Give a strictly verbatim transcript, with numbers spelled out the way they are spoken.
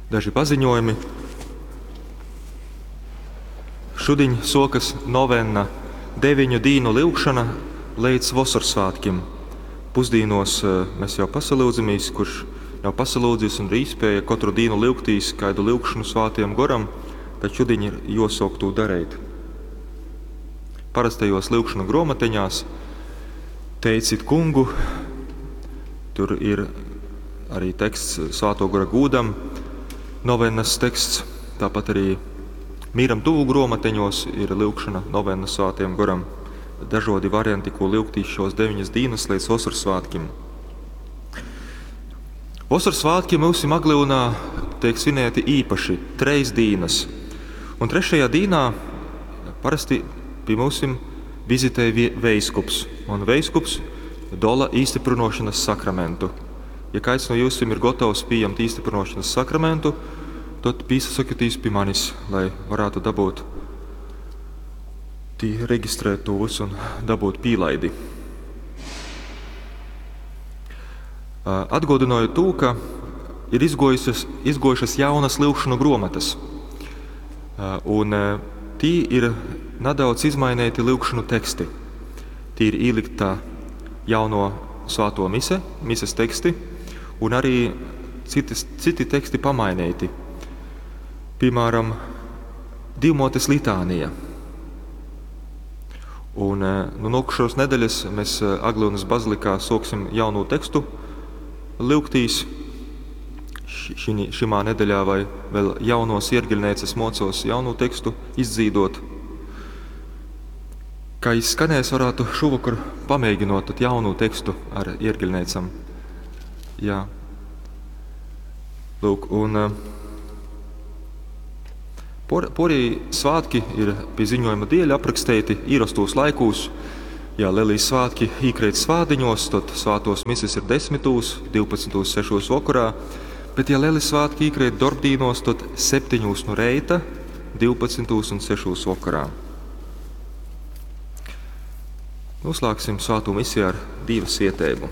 Daži paziņojumi. Šudiņ sokas novenna, deviņu dīnu lyugšana līdz Vosorsvētkim. Pusdīnos mēs jau pasalūdzamies, kurš nav pasalūdzis un ir īspēja katru dienu lyugtīs kādu lyugšanu Svētajam Goram, tad šudiņ ir josok to darīt. Parastajos lyugšanu gromateņās teicit kungu, tur ir arī teksts Svēto Gora gūdam, novennas teksts, tāpat arī Mīram tuvu gromateņos ir lyugšana novenna Svētajam Goram. Dažādi varianti, ko lyugtīs šos deviņas dienas līdz Vosorsvētkim. Vosorsvētki mūsu Aglyunā tiek svinēti īpaši, treis dienas. Un trešajā dīnā parasti pie mūsim vizitē veiskups. Un veiskups dola īstiprinošanas sakramentu. Ja kāds no jūsim ir gatavs pieņemt īstiprinošanas sakramentu, tad pīsasakatīs pie manis, lai varētu dabūt tī reģistrēt to visu un dabūt pīlaidi. Atgodināju to, ka ir izgojušas, izgojušas jaunas lyugšanu gromatas. Un tī ir nedaudz izmainīti lyugšanu teksti. Tī ir ielikta jauno svēto mise, mises teksti, un arī citas, citi teksti pamainīti. Piemēram, Divmotes litānija. Un nu, nākušos nedēļas mēs Aglyunas bazilikā soksim jaunu tekstu lyugtīs. Šī, šimā nedēļā vai vēl jaunos iergeļnēcas mocos jaunu tekstu izdzīdot. Kā izskanēs, varētu šovakar pamēģinot tad jaunu tekstu ar iergeļnēcam. Jā. Lūk, un por, porī svētki ir pie ziņojuma dieļa aprakstīti īrastos laikūs. Ja Lelijas svētki īkrīt svādiņos, tad svātos mises ir desmitūs, divpadsmitūs, sešos vakarā, bet ja Lelijas svētki īkrīt darbdīnos, tad septiņūs no reita, divpadsmitūs un sešos vakarā. Noslēgsim svēto misiju ar Dieva svietēbu.